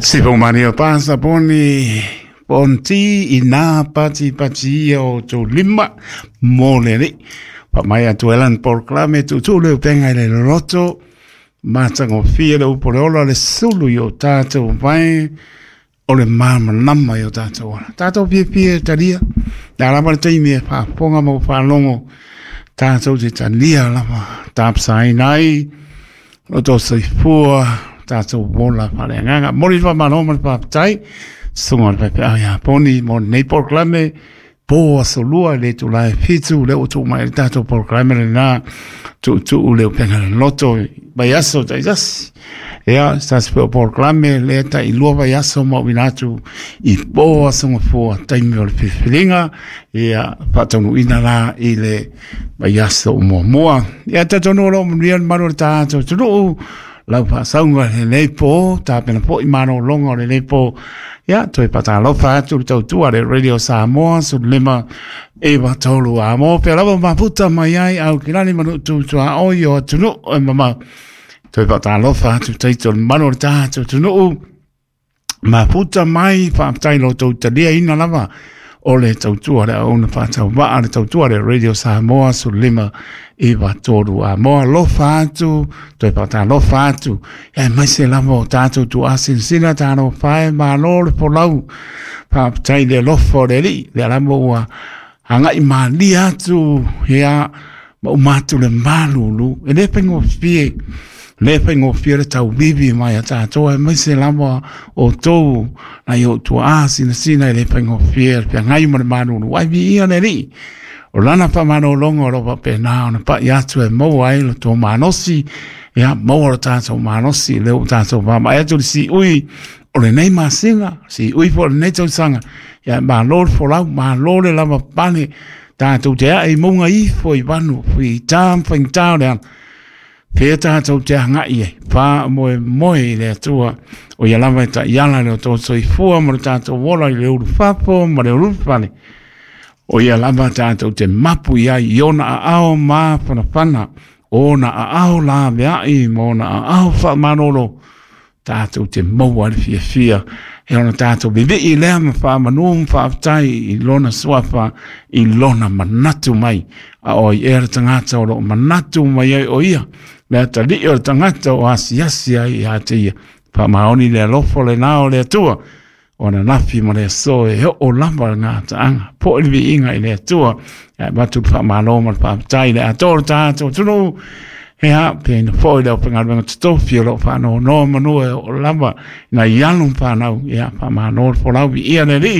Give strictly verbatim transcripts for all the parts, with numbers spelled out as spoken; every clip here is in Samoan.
Sipo mani o pasa poni ponti ina pati pati o tō lima mō le li. Pa mai atu elan porklame tutu le upenga i le loloto. Mātango fia le upo le ola le sulu i o tātou vai o le māmanama i o tātou ala. Tātou pie pie talia. Nā lama le teimi e whaaponga mau whaalongo. Tātou te talia lama. Tāpsaina ai. O tō soifua. Tātou wola whaleanganga. Mori wha mano ma le whaapatai. Sunga le pepe au ia poni mo nei porklame. Po asolua le tu lai fitu le o tu mai le tātou porklame le nā. Tu tu le upenga le loto vai aso tai sasi. Ia, sasi pe o porklame le ta i lua vai aso ma uinatu i po asonga fua taimi o le pipilinga. Ia, whaatonu ina la i le vai aso o mua. Ia, tatonu o manuia le maru o le tātou tunuu. Lau whaasaunga le nei pō, tāpena po i mano longa o le nei pō. Ia, toi patalofa atu le tautua le Radio Samoa, su lima ewa tolu a mō. Pea lava maputa mai ai au kilani manu tūtua oi o atunu e mama. Toi patalofa atu teito le manu o le tātou tunuu. Maputa mai whaapatai lo tau talia ina lava o le tautua le auna whaatau waa le tautua le Radio Samoa, su lima iwa tolu a moa lofa atu, toi pata lofa atu. Ia mai se lava o tātou tu asinsina tāno whae malo le polau. Whaapatai le lofa o le li, le alama ua hangai malia atu, ia ma umatu le malulu. E le pengo fie, le pengo fie le tau bibi mai a tātou, e mai se lava o tō, na i o tua asinsina e le pengo fie, le ngai ma le malulu. Ai vi ia le li. O lana pa mano longo o ropa pe nā ona pa i atu e maua ai lo tō manosi, ia maua lo tātou manosi, le o tātou pāma. E atu le si ui o le nei masinga, si ui po le nei tausanga, ia mā lore folau, mā lore lava pane, tātou te a e maunga ifo i wanu, i tā mwhaing tā o le ana. Pea tātou te hangai e, pā moe moe i le atua, o ia lava e ta iala le o tō soifua, mo le tātou wola i le uru whapo, mo le uru pane. O ia lava tātou te mapu ia i ona a ao mā whanawhana, ona a ao la veai, ma ona a ao wha manolo, tātou te maua le fia fia, e ona tātou bibiki lea ma wha manu ma whaaftai i lona suafa, i lona manatu mai, a oi e le tangata o lo manatu mai ai o ia, lea tali o le tangata o asiasi ai ia te ia, wha maoni le alofo le nao le atua, ona nafi ma le aso e o lava ngā taanga, po e vi inga i le atua, e watu wha malo ma le whaapatai le atoa tātou tunu, he ha, pēna foi le opengaluenga tutofi o lo whanau noa manua e o lava, na ianu whanau, ia wha malo le folau i ia le li,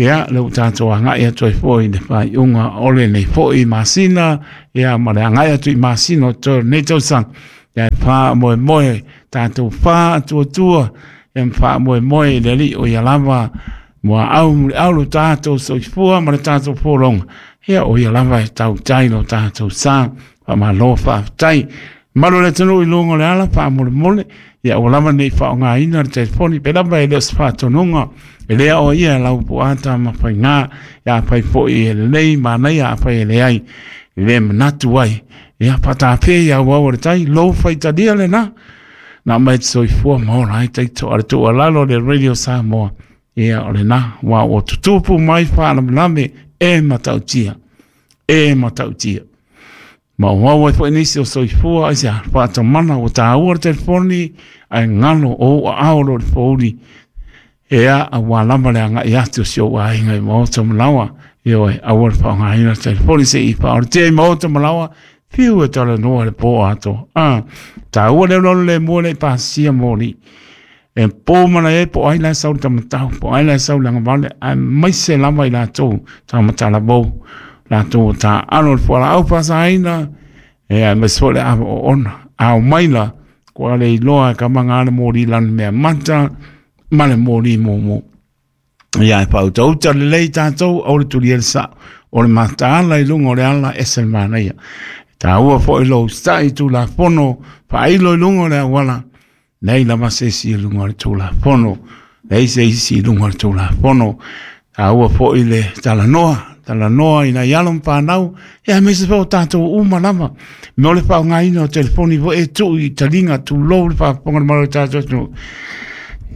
ia le o tātou angai atu e foi le whai unga ole nei foi masina, ia ma le angai atu i masina o tō nei tausanga, ia e wha moe moe, tātou wha atua tua, e wha moe moe le li o ia lava mua au muli au lo tātou soifua ma le tātou pōronga. Ia o ia lava e tau tai lo tātou sā, wha malo whaaftai. Malo le tanu i lunga le ala, wha mole mole, ia o lava nei wha o ngā ina le telefoni, pe lava e leo se whaatonunga, e lea o ia lau po ata ma whai ngā, ia whai foi e lei, mānei a whai e leai, le manatu ai. Ia whatāpē ia wau o le tai, lo whai talia le nā. Nā mai te soifua maora ai taito a le tō alalo le Radio Samoa. Ia o le nā, wā o tutupu mai whaalamalame e matautia. E matautia. Ma o wau ai fo nisi o soifua ai se whaatamana o tāua le telefoni ai ngalo o a ao lo le fōuri. Ea a wā lama le anga i atu si o wāinga i maota malawa. Ia oe, aua le whaongaina telefoni se i whaore te i maota malawa. Whiu e tala noa le pō ato. Ah, tāua le lolo le mua le pāsia mōri. E pō mana e po ai lai sau le tamatau, po ai lai sau le angavale, ai maise lava i lātou, tamatala bou, lātou tā alo le fuala au pāsāina, e ai maise fo le awa o ona. Au maila, kua le iloa ka manga le mōri lan mea mata, ma le mōri mōmō. Ia e pau tauta le lei tātou, au le turi ele sa, o le mataala i lunga o le ala ese le manaia. Tāua fo i lou stai tū la fono, whailo i lunga o le awala, nei lava se isi i lunga o le tū la fono, nei se isi i lunga o le tū la fono. Tāua fo i le talanoa, talanoa i nai alo whanau, ia me se fo tātou uma lava. Me ole whao ngā ina o telefoni fo e tū i talinga tū lou le whaponga le malo tātou tū.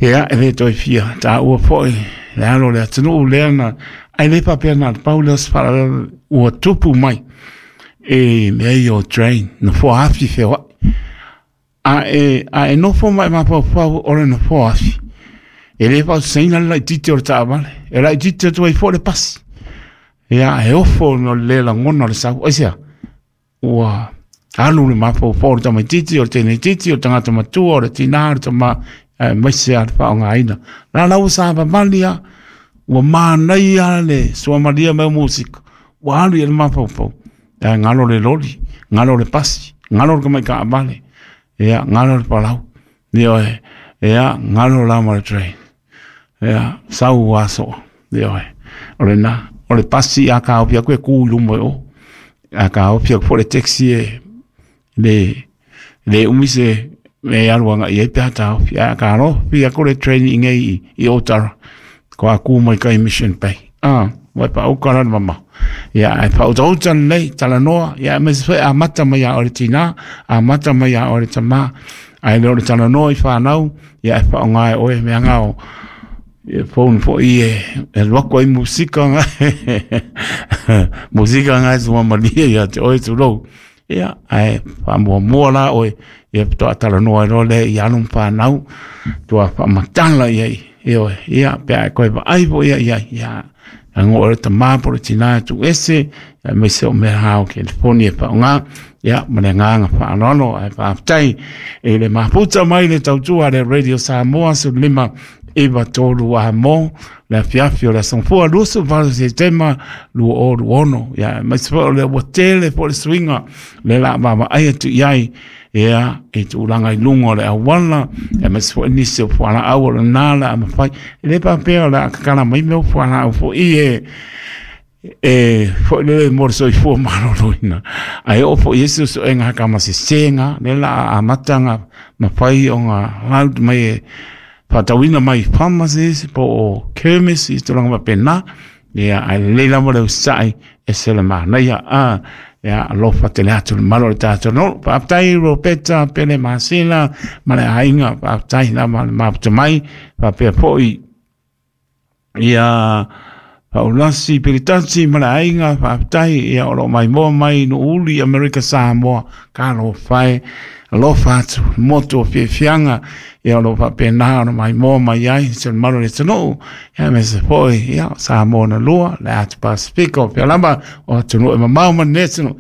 Ia e le toe fia taua foi le alo o le atunuu lea na ai le faapea na pau lea o se faalavelave ua tupu mai e mea ia o train, nofoa afi feoai. A e, a e nofo ma e mafaufau o le nofoa afi, e le faaososaina le laitiiti o le taavale, e laitiiti atu ai foi le pasi. Ia e ofo no le lagona o le sau. Aisea? Ua alu le mafaufau o le tamaitiiti, o le teineitiiti, o le tagata matua, o le tinā, o le tamā, aemaise lava le faaaogaina. La la ua savavali lava, ua manaia le suamalia mai o musika, ua alu i le mafaufau. Ia galo le loli, galo le pasi, galo le tamai taavale, ia galo le palau, ioe, ia galo la ma le train. Ia sau aso, ioe, o lena, o le pasi a kaofi atu e ku i luma i o, a kaofi atu foi le taxi e le, le umi se me alu agai ai pe a taofi, ae a kalofi atu le train i nei i, i Otara, ko a ku mai kai Mission Bay. Ah, ua e paauka la le mamao. Ia, ae faautauta lelei, talanoa, ia aemaise foi amata mai ia oe le tinā, amata mai ia oe le tamā, ae le o le talanoa i whanau, ia e whaonga e oe mea ngao, e phone foi e, e alu atu ai musika nga, musika nga e suamalie ia te oe tulou. Ia, ae faamuamua la oe, ia faatoa talanoa ai loa lea i alo ma whanau, tua faamatala i ai, ioe, ia, pe a e koe vaai foi ia i ai, ia, lago o le tamā po o le tinā e tuuese, aemaise o mea ao telefoni e faaaoga, ia, ma le agaga faaaloalo, ae faafetai i le mafuta mai le tautua a le Radio Samoa sefulu lima iva tolu a mo le afiafi o le aso Gafua luasefulu valu Setema lua o lua ono. Ia, aemaise foi o le ua tele foi le suiga le la vaavaai atu i ai, ia, i tulaga i luga o le auala, aemaise foi nisi o fualaau o lena le a mafai. E le faapea o le a kakala mai mea o fualaau foi e e foi lele mo le soifua maloloina, ae oo foi i ai suesuega hakamasesega lea la a amata mafai ona load mai e faatauina mai pharmacies po o chemist i tulaga faapena. Ia, ae lelei lava le usisa'i, ese le manaia a. Ia, alofa tele atu le malo o le tatou nuu. Faafetai Roberta Pele Masela ma le aiga, faafetai lava le mafuta mai, faapea foi ia Paulasi Pilitasi ma le aiga, faafetai, ia o loo maimoa mai Nuuuli Amerika Samoa, talofa e, alofa atu le motu o fiafiaga, ia o loo faapena ona maimoa mai ai se le malo o le atunuu, ia aemaise foi ia Samoa na lua, le atu Pasifika o pea lava o atunuu e mamao ma lenei atunuu.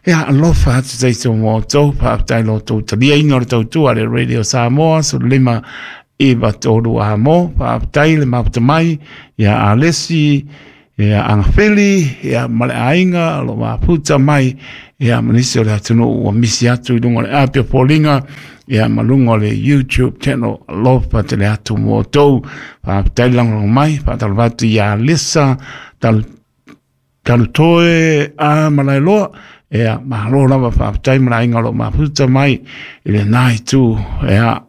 Ia, alofa atu taito mo outou, faafetai lo outou taliaina o le tautua a le Radio Samoa sefulu lima iva tolu a mo, faafetai le mafuta mai ia Alesi, ia Agafili, ia ma le aiga o lo mafuta mai, ia ma nisi o le atunuu ua misi atu i luga o le api o foliga, ia ma luga o le YouTube channel, alofa tele atu mo outou, faafetai le lagolago mai, faatalofa atu ia Lisa Talu Talutoe a Malaeloa, ia malo lava, faafetai ma le aiga o lo o mafuta mai i lena itu, ia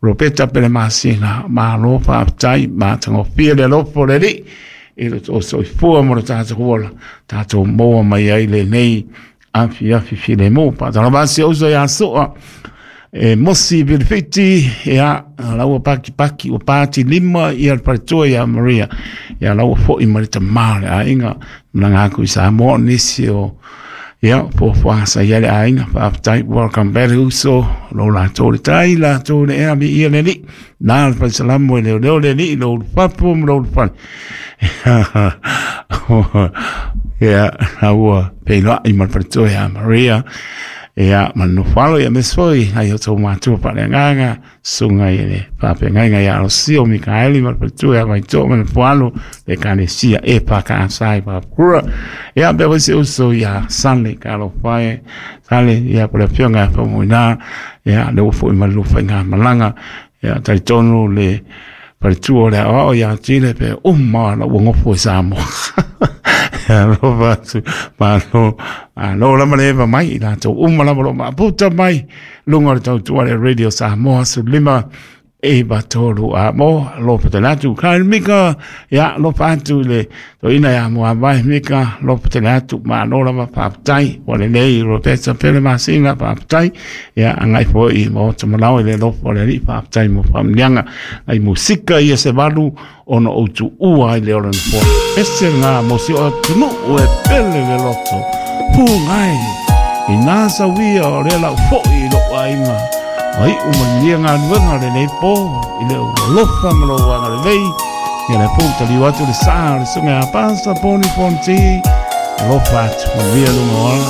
Roberta Pele Masina, malo faafetai, matagofie le alofa o le Alii i le tou soifua ma le tatou ola, tatou maua mai ai lenei afiafi filemu. Faatalofa atu si ou uso ia Soa e Mosi Vilifiti, ia la ua pakipaki ua pati lima ia le faletua ia Maria, ia la ua foi ma le tamā o le aiga malaga atu i Samoa, nisi o ia fuafuaga sa i ai le aiga. Faafetai, welcome back uso, lo latou le tai latou le ea viia le Alii na le falesalamo e leoleo le Alii lo ulufapo ma lo ulufale. Ia la ua feiloai ma le faletua ia Maria, ia ma le nofo alo, ia aemaise foi nai o tou matua faaleagaga, susuga i le faafeagaiga ia Alosio Mikaeli ma le faletua ia Vaitoa ma le nofo alo le Ekalesia e E K S i Papakura. Ia faapea foi si uso ia Sale, talofa e Sale, ia po le afioga ia Faumuina, ia lea ua foi ma le lua faigamalaga. Ia talitonu le faletua o le aoao ia Tile pe uma la ua gofo i Samoa. Alofa atu, malo, malo lava le eva mai i latou uma lava o lo o maaputa mai luga o le tautua le Radio Samoa sefulu lima E batolu a mo lo patelatu kai mika ya lo patu le to ina ya mo abai mika lo patelatu ma no la pa tai wa le nei ro pesa pele masina pa tai ya angai fo i mo to malao le lo po le ri pa tai mo pa nyanga ai musika ia se valu ono o tu ua i le ora fo ese nga mo si o tunu e pele le loto pungai i nā sawia o le lau fo i lo ainga ai o malia ngā nuenga le nei pō i le alofa ma lo wanga le lei ia le pō tali watu le sā le sunga a pāsa pōni pōnti alofa atu malia lunga ola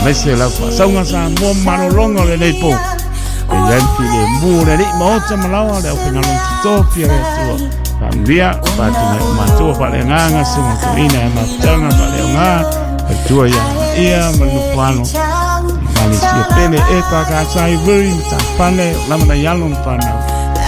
mese lau whasaunga sa mua marolonga le nei pō e ian fi le mū le li maota malawa le au pengalong titofi le atua whaamlia whātu mai o mātua wha le ngānga sunga tuina e maputanga wha le o ngā whaitua ia ia malupuano Mali sia pele e pa ka sai vuri ta pale lama na yalo pa na